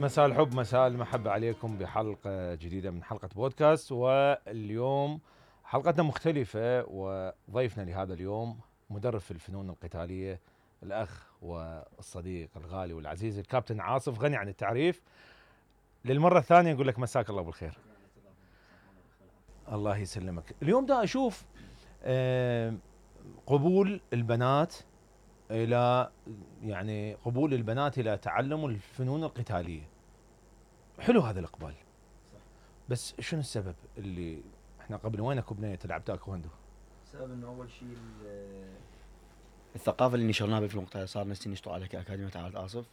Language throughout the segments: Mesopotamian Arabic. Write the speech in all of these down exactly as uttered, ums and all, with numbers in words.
مساء الحب مساء المحبة عليكم بحلقة جديدة من حلقة بودكاست. واليوم حلقتنا مختلفة، وضيفنا لهذا اليوم مدرب في الفنون القتالية، الأخ والصديق الغالي والعزيز الكابتن عاصف، غني عن التعريف. للمرة الثانية نقول لك مساك الله بالخير. الله يسلمك. اليوم دا أشوف قبول البنات إلى يعني قبول البنات إلى تعلم الفنون القتالية. حلو هذا الإقبال، بس شنو السبب اللي احنا قبل وينك وبنية تلعب تايكوندو؟ السبب انه اول شيء الثقافه اللي نشرناها بالفنون القتاليه، صار ناس نشتغل عليها كاكاديميه عاد آصف،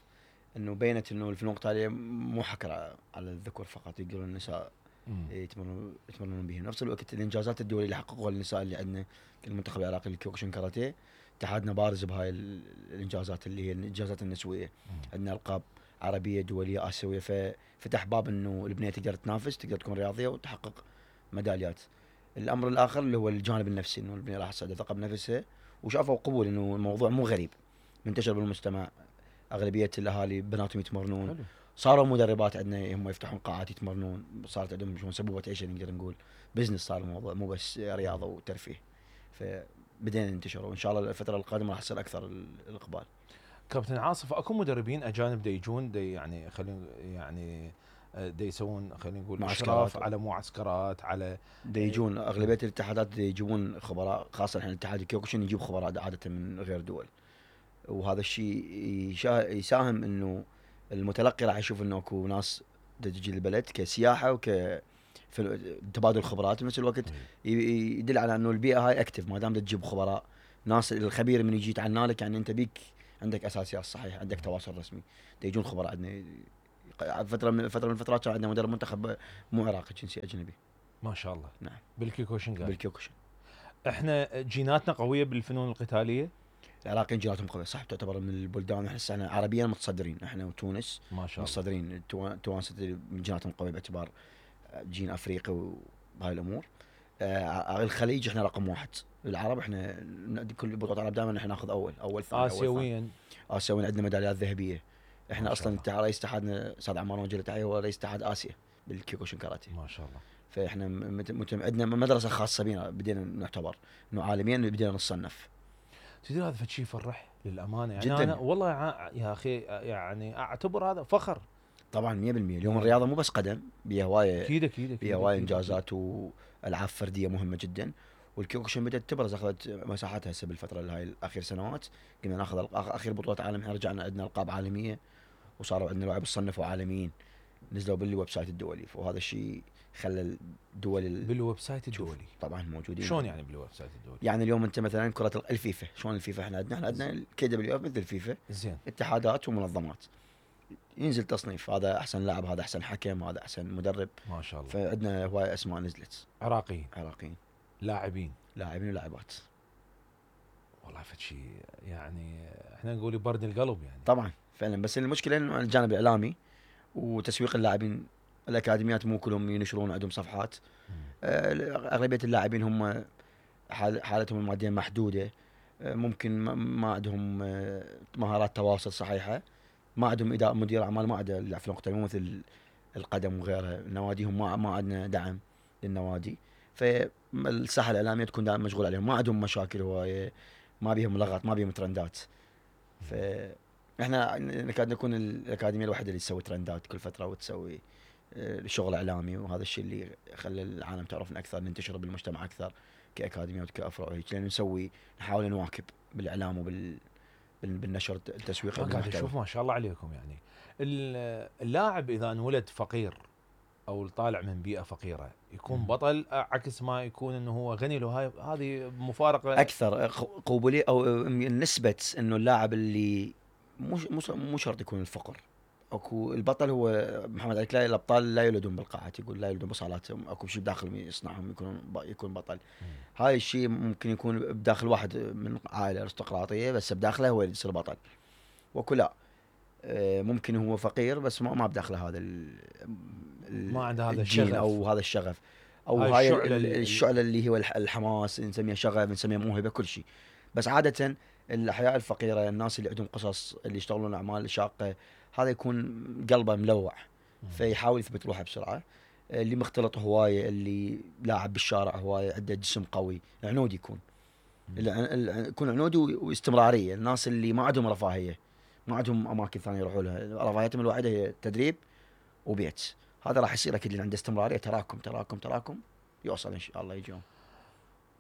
انه بينت انه الفنون القتاليه مو حكر على الذكور فقط، يقدرون النساء يتمرنون يتمرنون بها. نفس الوقت الانجازات الدوليه اللي حققوها النساء اللي عندنا المنتخب العراقي للكيوكوشن كاراتيه، اتحادنا بارز بهاي الانجازات اللي هي الانجازات النسويه. عندنا القاب عربيه دوليه اسيويه، ففتح باب انه البنيه تقدر تنافس، تقدر تكون رياضيه وتحقق ميداليات. الامر الاخر اللي هو الجانب النفسي، انه البنيه راح تساعدها ثقه بنفسها، وشافوا قبول انه الموضوع مو غريب، منتشر بالمجتمع. اغلبيه الاهالي بناتهم يتمرنون، حلو. صاروا مدربات عندنا هم يفتحون قاعات يتمرنون، صارت عندهم شلون سبوبه عيشه، نقدر نقول بزنس صار الموضوع، مو بس رياضه وترفيه. فبدينا ننتشر، وان شاء الله الفتره القادمه راح يصير اكثر الاقبال. كابتن عاصف، اكو مدربين اجانب دا يجون دا يعني خلينا يعني دا يسوون خلينا نقول اشراف على معسكرات، على دا يجون اغلبيه الاتحادات دا يجيبون خبراء، خاصه الحين الاتحاد الكيوكوشن يجيب خبراء عاده من غير دول، وهذا الشيء يساهم انه المتلقي راح يشوف انه اكو ناس تجي البلد كسياحه وك تبادل خبرات، بنفس الوقت يدل على انه البيئه هاي اكتف، ما دام تجيب خبراء ناس الخبير من يجي يتعنى لك، يعني انت بيك عندك اساسيات صحيح، عندك تواصل رسمي. يجون خبراء عندنا فتره من فتره من الفترات كان عندنا مدرب منتخب مو عراقي، جنسي اجنبي. ما شاء الله. نعم. بالكيوكوشن قال. بالكيوكوشن. احنا جيناتنا قويه بالفنون القتاليه. العراقيين جيناتهم قويه صح، تعتبر من البلدان احنا احنا عربيا متصدرين، احنا وتونس ما شاء الله متصدرين. توانسه جيناتهم قويه باعتبار جين افريقي وهاي الامور. آه الخليج احنا رقم واحد، العرب احنا كل بطولات العرب دائما احنا ناخذ اول اول ثاني. اسيويا اسيويا عندنا ميداليات ذهبيه. احنا اصلا رئيس اتحادنا استاذ عمار وجه تحيه هو رئيس اتحاد اسيا بالكيوكوشن كاراتيه. ما شاء الله. فاحنا متم... عندنا مدرسه خاصه بينا، بدينا نعتبر انه عالميا بدينا نصنف. تدري هذا فشي يفرح للامانه، يعني جداً. انا والله يا اخي يعني اعتبر هذا فخر. طبعا مية بالمية. اليوم الرياضه مو بس قدم، بيها هوايه اكيد اكيد بيها هوايه انجازات والعاب فرديه مهمه جدا. والكيوكوشن بدات تبرز، اخذت مساحتها هسه بالفتره هاي الاخير سنوات. قمنا ناخذ اخير بطولات عالم، احنا رجعنا عندنا القاب عالميه، وصاروا عندنا لاعب صنفوا عالميين، نزلوا بالويب سايت الدولي، وهذا الشيء خلى الدول ال... بالويب سايت الدولي طبعا موجودين. شلون يعني بالويب سايت الدولي؟ يعني اليوم انت مثلا كره الفيفا، شلون الفيفا احنا عندنا احنا عندنا الكي دبليو اف مثل الفيفا، زين، اتحادات ومنظمات، ينزل تصنيف، هذا احسن لاعب، هذا احسن حكم، هذا احسن مدرب. ما شاء الله. فعندنا هواي اسماء نزلت، عراقيين عراقيين لاعبين لاعبين ولاعبات. والله فشي يعني احنا نقول يبرد القلب يعني. طبعا فعلا، بس المشكله انه الجانب الاعلامي وتسويق اللاعبين، الاكاديميات مو كلهم ينشرون عندهم صفحات. اغلبيه اللاعبين هم حالتهم الماديه محدوده، ممكن ما عندهم مهارات تواصل صحيحه، ما عندهم اداره مدير اعمال، ما عنده يلعب في نقطه، مو مثل القدم وغيرها. نواديهم ما ما عندنا دعم للنوادي، فالساحه الاعلاميه تكون دائما مشغول عليهم، ما عندهم مشاكل هوايه، ما بيهم لغط، ما بيهم ترندات. فاحنا نكاد نكون الاكاديميه الوحيده اللي تسوي ترندات كل فتره وتسوي شغل اعلامي، وهذا الشيء اللي خلى العالم تعرفنا اكثر، ننتشر بالمجتمع اكثر كاكاديميات وكافرع وهيك، لان نسوي نحاول نواكب بالاعلام وبال بالنشر التسويقي. قاعد اشوف ما شاء الله عليكم، يعني اللاعب اذا انولد فقير او طالع من بيئه فقيره يكون بطل، عكس ما يكون انه هو غني له. هاي هذه مفارقه اكثر قبوليه، او نسبه انه اللاعب اللي مو مو شرط يكون الفقر. اكو البطل هو محمد علي كلاي، الابطال لا يولدون بالقاعات، يقول لا يولدون بصالاتهم، اكو شيء بداخلهم يصنعهم يكونون يكون بطل. مم. هاي الشيء ممكن يكون بداخل واحد من عائله ارستقراطيه، بس بداخله هو يصير بطل. واكو لا ممكن هو فقير بس ما ما بداخله هذا ما عنده هذا الشغف او هذا الشغف او هاي, هاي الشعله, الشعلة اللي هو الحماس، نسميها شغف، نسميها موهبه، كل شيء. بس عاده الاحياء الفقيره، الناس اللي عندهم قصص، اللي يشتغلون اعمال شاقه، هذا يكون قلبه ملوع فيحاول يثبت روحه بسرعه. اللي مختلط هوايه، اللي لاعب بالشارع هوايه، عنده جسم قوي، عنودي يكون يكون عنودي واستمراريه. الناس اللي ما عندهم رفاهيه، ما عندهم اماكن ثانيه يروحوا لها، رفاهيتهم الوحيده هي تدريب وبيت، هذا راح يصير اكيد اللي عنده استمراريه تراكم تراكم تراكم يوصل ان شاء الله يجي يوم.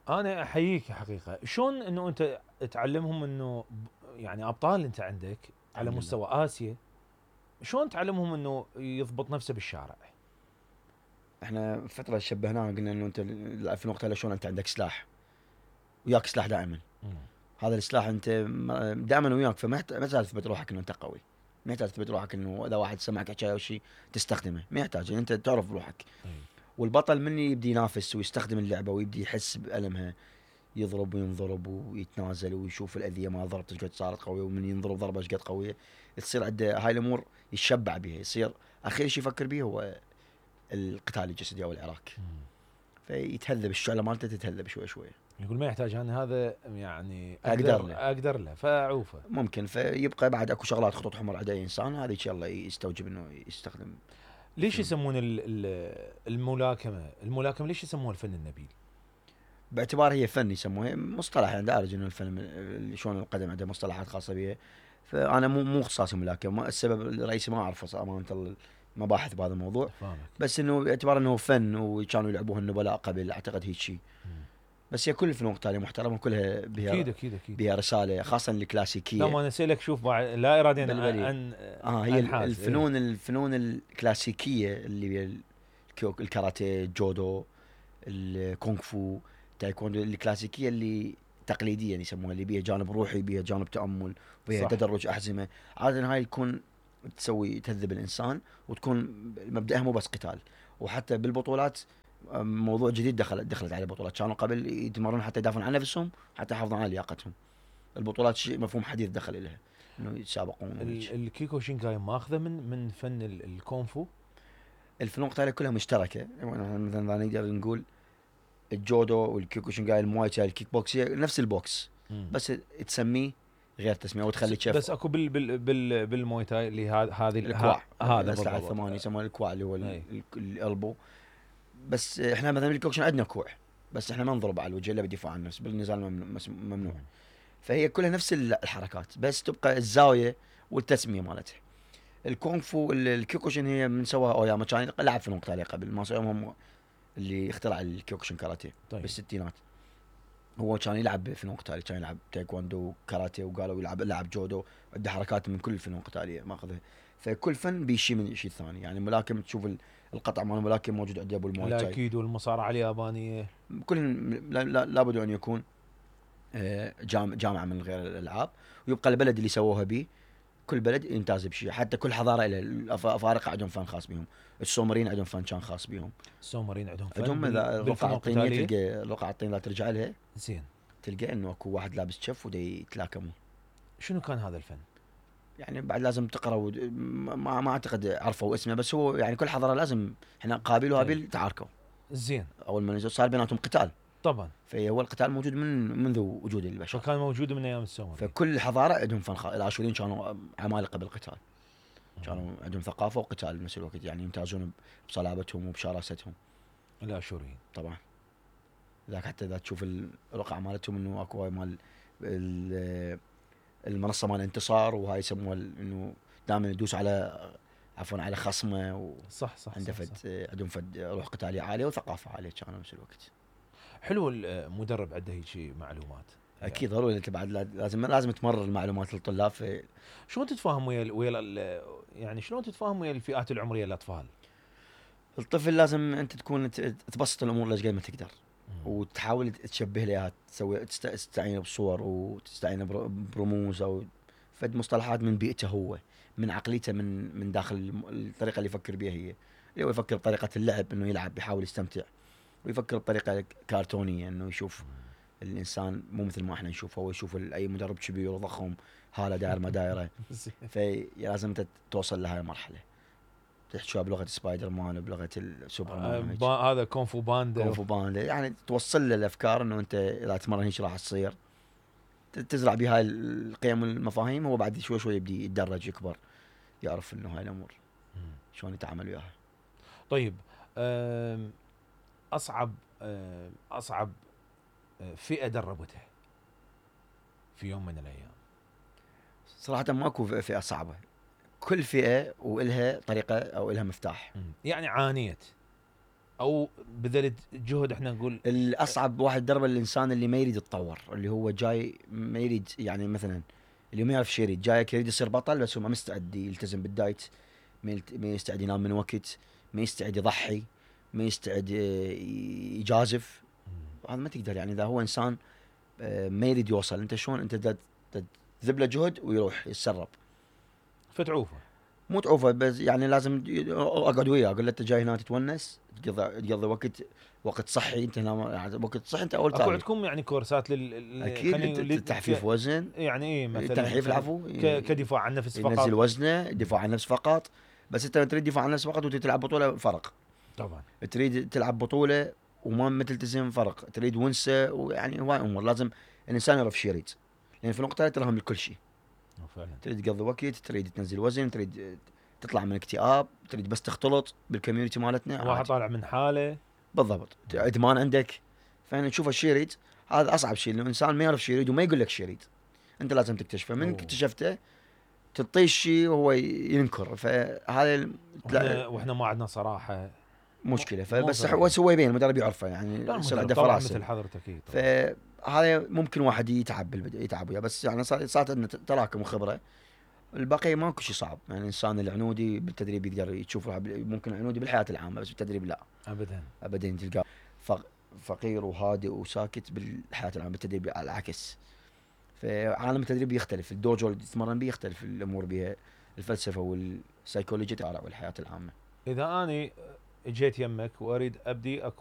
انا احييك حقيقه. شلون انه انت تعلمهم انه يعني ابطال انت عندك على مستوى اسيا، شلون تعلمهم انه يضبط نفسه بالشارع؟ احنا فتره شبهناه قلنا انه انت في النقطه شلون انت عندك سلاح وياك سلاح دائما. مم. هذا السلاح انت دائما وياك، فما يحتاج تثبت روحك انه انت قوي، ما يحتاج تثبت روحك انه اذا واحد سمعك حكايه او شيء تستخدمه، ما يحتاج، انت تعرف روحك. مم. والبطل من يبدي ينافس ويستخدم اللعبه ويبدي يحس بالمها، يضرب وينضرب ويتنازل ويشوف الاذيه ما ضربت ايش قد صارت قويه، ومن ينضرب ضربه ايش قد قويه، تصير عنده هاي الامور يتشبع بها، يصير اخر شيء يفكر به هو القتال الجسدي او العراك. مم. فيتهذب الشعله مالته تتهذب شوي شوي. يقول ما يحتاج انا هذا يعني اقدر اقدر له, أقدر له فاعوفه. ممكن فيبقى بعد اكو شغلات خطوط حمر عند اي انسان، هذه ان شاء الله يستوجب انه يستخدم. ليش يسمون الملاكمه الملاكمه ليش يسموها الفن النبيل؟ باعتبار هي فن يسموها، مصطلح يعني دارج انه الفن شلون القدم عنده مصطلحات خاصه بها، فانا مو مو اختصاصي ملاكمه، السبب الرئيسي ما اعرفه امانه المباحث بهذا الموضوع، فهمك. بس انه باعتبار انه فن وكانوا يلعبوها النبلاء قبل، اعتقد هيك شيء. بس هي كل الفنون القتاليه محترمه، كلها بها اكيد اكيد اكيد بها رساله، خاصه الكلاسيكيه. لا ما انا اسالك شوف لا اراديا عن اه هي الفنون إيه؟ الفنون الكلاسيكيه اللي هي الكاراتيه، الجودو، الكونغ فو، تايكوندو، الكلاسيكيه اللي تقليديه يسموها، اللي بيها جانب روحي، بيها جانب تامل، بيها تدرج احزمه. عاده هاي تكون تسوي تهذب الانسان، وتكون مبدأها مو بس قتال. وحتى بالبطولات موضوع جديد دخل دخلت على البطولات، كانوا قبل يتمرنون حتى يدافعون عن نفسهم، حتى يحافظون على لياقتهم. البطولات شيء مفهوم حديث دخل اليها، انه يتسابقون. الكيكو شينكاي ماخذه من من فن الكونفو. الفنون القتاليه كلها مشتركه، مثلا نقدر نقول الجودو والكيكو شينكاي، المواي تاي، الكيك بوكس، نفس البوكس، مم. بس تسميه غير تسميه وتخلي تشوف. بس اكو بال بال بال بالمواي تاي اللي هذه الكواع، هذا الاسلحه الثمانيه يسمونه الكواع، اللي هو الالبو. بس احنا مثلا بالكوكشن عندنا كوع، بس احنا ما نضرب على الوجه الا بالدفاع عن النفس، بالنزال ممنوع. فهي كلها نفس الحركات، بس تبقى الزاويه والتسميه مالتها. الكونغ فو الكيوكوشن هي من سواها اوياما، كان لعب فنون قتاليه قبل، ما هم اللي اخترع الكيوكوشن كاراتيه. طيب. بالستينات هو كان يلعب فنون قتاليه، كان يلعب تايكوندو كاراتيه، وقالوا يلعب لعب جودو، عنده حركات من كل الفنون القتاليه ماخذها. فكل فن بيشي من شيء ثاني، يعني الملاكم تشوف القطع مال الملاكم موجود عند ابو المواي تاي اكيد، والمصارعه اليابانيه كل لابد ان يكون جامعه من غير الالعاب، ويبقى البلد اللي سووها به، كل بلد يمتاز بشيء، حتى كل حضاره لها. الافارقه عندهم فن خاص بهم، السومريين عندهم فن كان خاص بهم، السومريين عندهم فن عندهم الرقعه الطينيه، تلقى الرقعه الطينيه لا ترجع لها زين، تلقى انه اكو واحد لابس شف ودي يتلاكمون. شنو كان هذا الفن؟ يعني بعد لازم تقرا و... ما ما اعتقد عرفوا اسمه، بس هو يعني كل حضاره لازم، احنا قابيل وهابيل تعاركوا زين، اول ما نزل صار بيناتهم قتال طبعا، فهو القتال موجود من منذ وجود البشر، فكان موجود من ايام السومري. فكل حضاره عندهم فن خاص. الاشوريين كانوا عمالقه بالقتال، كانوا عندهم ثقافه وقتال بنفس الوقت، يعني يمتازون بصلابتهم وبشراستهم الاشوريين طبعا. ذاك حتى اذا تشوف الرقعه مالتهم انه اكو مال المنصه مال الانتصار، وهاي يسموها انه دائما يدوس على عفوا على خصمه و صح صح عنده فد عندهم فد روح قتاليه عاليه وثقافه عاليه كانوا بنفس الوقت. حلو المدرب عنده هيك شيء معلومات. اكيد ضروري، انت بعد لازم لازم تمرر المعلومات للطلاب. في شلون تتفاهم ويا ويا يعني شلون تتفاهم ويا الفئات العمريه الاطفال؟ الطفل لازم انت تكون تبسط الامور لقد ما تقدر، وتحاول تشبه له اياها، تسوي تستعين بصور وتستعين برموز او فد مصطلحات من بيئته هو، من عقليته، من من داخل الطريقه اللي يفكر بها هي، اللي هو يفكر بطريقه اللعب انه يلعب بيحاول يستمتع، ويفكر بطريقه كرتونيه انه يشوف الانسان مو مثل ما احنا نشوفه، هو يشوف اي مدرب كبير وضخم هاله داير ما دايره. فلازم انت توصل لهاي المرحله، تحكيها بلغه سبايدر مان، بلغه السوبر مان، آه هذا كونفو باندا كونفو باندا، يعني توصل له الافكار انه انت اذا تمرن هيك راح تصير، تزرع بهاي القيم والمفاهيم، هو بعد شوي شوي يبدي يتدرج يكبر. يعرف انه هاي الامور شلون يتعامل وياها. طيب أم، اصعب أم، اصعب أه، فئه دربتها في يوم من الايام؟ صراحه ماكو فئه صعبه، كل فئه والها طريقه او الها مفتاح. مم. يعني عانيت او بذلت جهد، احنا نقول الاصعب واحد دربه الانسان اللي ما يريد يتطور، اللي هو جاي ما يريد، يعني مثلا اللي ما يعرف شي يريد، جاي يريد يصير بطل بس هو ما مستعد يلتزم بالدايت، ما يلت- ما يستعد ينام من وقت، ما يستعد يضحي، ما يستعد آه، يجازف. مم. هذا ما تقدر، يعني اذا هو انسان آه، ما يريد يوصل، انت شلون انت دا- دا تذب له جهد ويروح يتسرب؟ فتعوفه. مو تعوفه، بس يعني لازم ي- اقعد وياه اقول له انت جاي هنا تتونس، تقضي تقضي وقت وقت صحي، انت هنا يعني وقت صحي انت اول اكو ثاني. عندكم يعني كورسات لل لل- اكيد خلينا ت- نقول ت- تحفيف وزن، يعني ايه مثلا تنحيف مثلاً العفو، ك- كدفاع عن النفس ينزل فقط. وزنه، دفاع عن النفس فقط. بس انت تريد دفاع عن النفس فقط وتريد تلعب بطوله، فرق. طبعا. تريد تلعب بطوله وما ما تلتزم، فرق. تريد ونسه، ويعني هواي امور لازم الانسان يعرف شو يريد، لان في النقطه تراهم لكل شيء. فعلا. تريد تقضي وقت، تريد تنزل وزن، تريد تطلع من اكتئاب، تريد بس تختلط بالكوميونتي مالتنا، واحد عادي. طالع من حاله. بالضبط. ادمان عندك، فاحنا نشوف الشيء يريد. هذا اصعب شيء، لانه الانسان ما يعرف شيء يريد وما يقول لك شيء يريد، انت لازم تكتشفه. من أوه. اكتشفته تعطيه الشيء وهو ينكر، فهذا ال- واحنا, واحنا ما عندنا صراحه مشكله. مو فبس صريح. هو هو يبين، المدرب يعرفه، يعني لا يصير المدرب عنده طبعا فراسه. مثل حضرتك اكيد. فهذا ممكن واحد يتعب بالبدء، يتعب وياه، بس يعني صار- صارت عندنا تراكم وخبره. البقيه ماكو شيء صعب، يعني الانسان العنودي بالتدريب يقدر يشوف روحه بال- ممكن عنودي بالحياه العامه، بس بالتدريب لا ابدا. ابدا. تلقاه فق- فقير وهادئ وساكت بالحياه العامه، بالتدريب على العكس. فعالم التدريب يختلف، الدوجو اللي تتمرن به يختلف الامور بها، الفلسفه والسيكولوجيا تبع والحياه العامه. اذا اني اجيت يمك واريد ابدي